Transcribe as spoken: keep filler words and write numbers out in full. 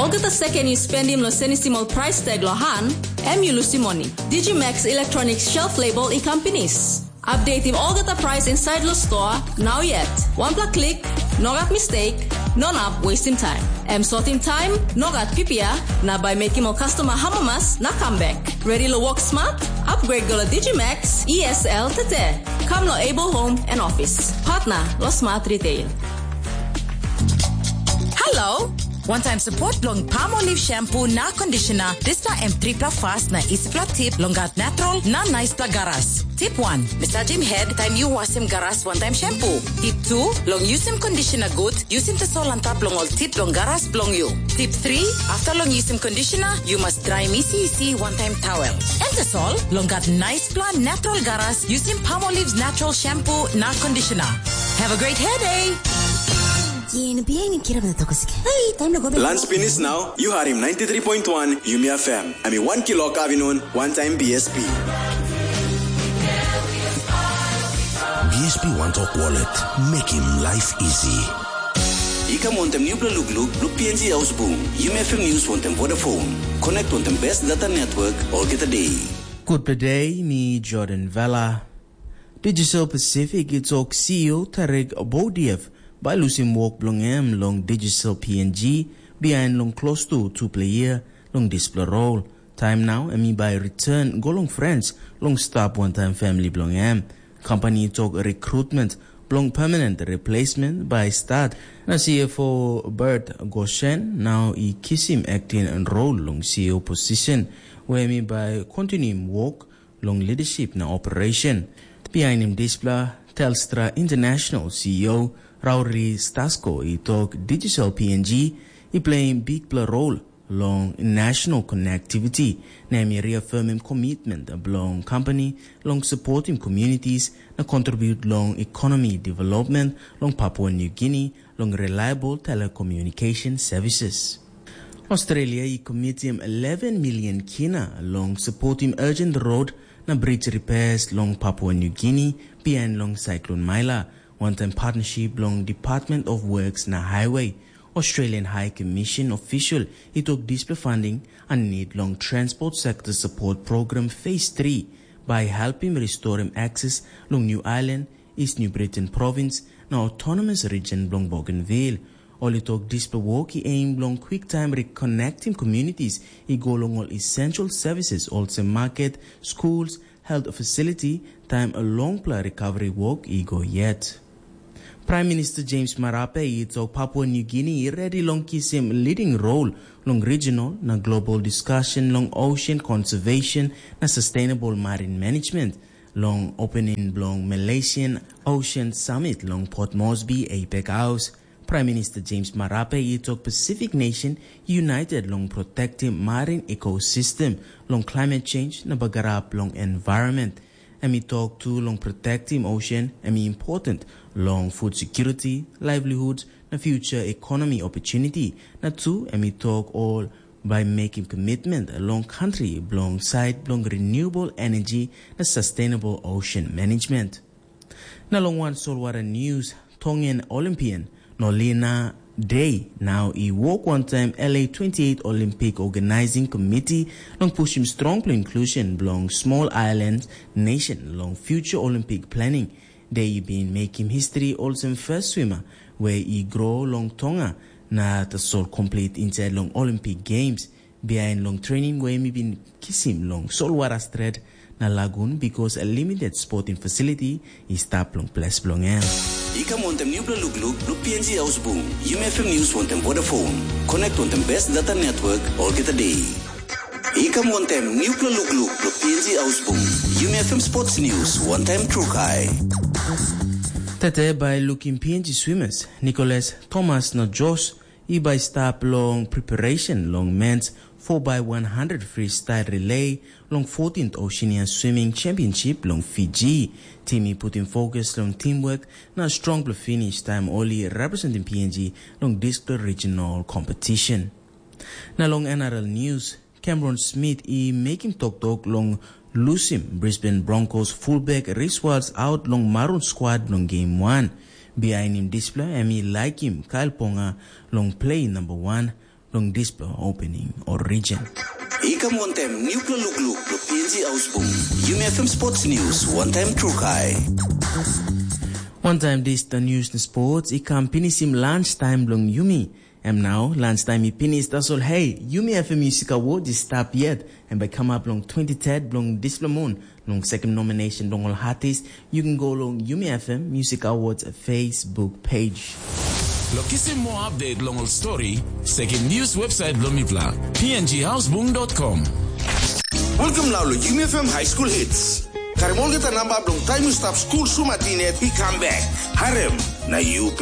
Olgeta seken yu spendim long senisim ol prais tag long han, em yu lusim moni. Digimax Electronic Shelf Label i kam pinis. Updatim olgeta prais insait long stoa, nau yet. Wanpela klik, nogat mistake, no nap wastim taim. Em sotim taim, nogat pipia, na bai mekim ol customer hamamas na kam bek. Ready long work smart? Upgrade go long Digimax E S L tete. Kam long Able Home and Office. Partner long Smart Retail. Hello! One time support long Palmolive shampoo na conditioner. Dispela em tripla fast na isipla tip long gat natural na nice pla garas. Tip one, massage him head time you wash him garas one time shampoo. Tip two, long use him conditioner good, use him tasol on top long all tip long garas blong you. Tip three, after long use him conditioner, you must dry him easy easy one time towel. And tasol, long gat nice pla natural garas, use him Palmolive's natural shampoo na conditioner. Have a great hair day! Yen bihain kirap na tokos. Hey, time na go back. Lunch finish now, you hear him ninety-three point one Yumi F M. I mean, one kilo kavinun, one time B S P. B S P One Talk Wallet, making life easy. I kam wantem nupela lukluk, bilong P N G Ausbung, Yumi F M News wantem Vodafone. Connect wantem best data network, olgeta day. Good day, mi Jordan Vela. Digital Pacific i tok C E O Tarek Boudiaf bai lusim wok bilong em long Digital P N G bihain long klostu tupela yia long dispela rol. Taim nau em i bai return go long Frans long stap wantaim famili bilong em. Company tok recruitment bilong permanent replacement bai start, na C F O Bert Goshen nau i kisim acting role long C E O position, where em i bai continuim wok long leadership na operation. Bihainim dispela, Telstra International C E O Rauri Stasko i tok digital P N G i pleim bikpela rol long national connectivity, na em i reaffirmim commitment bilong company long supportim communities na contribute long economy development long Papua New Guinea long reliable telecommunication services. Australia i komitim eleven million kina long supportim urgent road na bridge repairs long Papua New Guinea behind long Cyclone Maila, wantaim partnership long Department of Works na Highway. Australian High Commission official i tok dispela funding a need long Transport Sector Support Program Phase three bai helpim restorim access long New Ireland, East New Britain Province na Autonomous Region bilong Bougainville. Ol i tok dispela wok i aim bilong kwiktaim reconnectim communities i go long ol essential services olsem market, schools, health facility, taim longpela recovery wok i go yet. Prime Minister James Marape i tok Papua New Guinea i redi long kisim leading role long regional na global discussion long ocean conservation na sustainable marine management long opening bilong Malaysian Ocean Summit long Port Moresby, APEC House. Prime Minister James Marape i tok Pacific nation united long protectim marine ecosystem long climate change na bagarap long environment. Em i tok tu long protectim ocean, em i important long food security, livelihood na future economy opportunity. Na tu em i tok ol bai mekim commitment long country bilong side bilong renewable energy na sustainable ocean management. Na long wan solwara news, Tongan Olympian Nolina Day nau i wok wantaim L A twenty-eight Olympic Organizing Committee long pushim strongpela inclusion bilong small island nation long future Olympic planning. Day i bin mekim history olsem first swimmer we i grow long Tonga na tasol complete inside long Olympic Games. Bihain long training we em i bin kisim long solwara stret na lagun, because a limited sporting facility i stap long ples bilong em. I kam wantem nupela lukluk bilong P N G Ausbung, Yumi F M News wantem Vodafone. Connect wantem best data network olgeta day. I kam wantem nupela lukluk bilong P N G Ausbung, Yumi F M Sports News wantem Trukai. Tete bai lukim P N G swimmers Nicholas Thomas na Josh i bai stap long preparation long men's four by one hundred freestyle relay long fourteenth Oceania Swimming Championship long Fiji. Tim i putim fokus long teamwork na strongpela finish taim ol i representim P N G long dispela regional competition. Na long N R L news, Cameron Smith i mekim toktok long lusim Brisbane Broncos fullback Riswalds out long Maroon squad bilong game one. Bihainim dispela em i laikim Kyle Ponga long play number one. long dispela opening or region. I kam wantaim newpela lukluk bilong P N G Ausbung. Yumi F M Sports News, wantaim trukai. Wantaim dis da news na sports, i kam pinisim lunch time bilong yumi. Em nau, lunch time i pinis, tasol hey, yumi F M Music Award i stap yet, em bai kamap long twenty third bilong dispela mun. Long second nomination long ol artist, you can go long Yumi F M Music Awards Facebook page. Lo kisim more update long ol story, sekin news website bilong mipela, p n g houseboom dot com. Welcome now lo Yumi F M High School Hits. Karim olgeta namba bilong taim yu stap skul sumatin yet i kam bek. Harem, na yu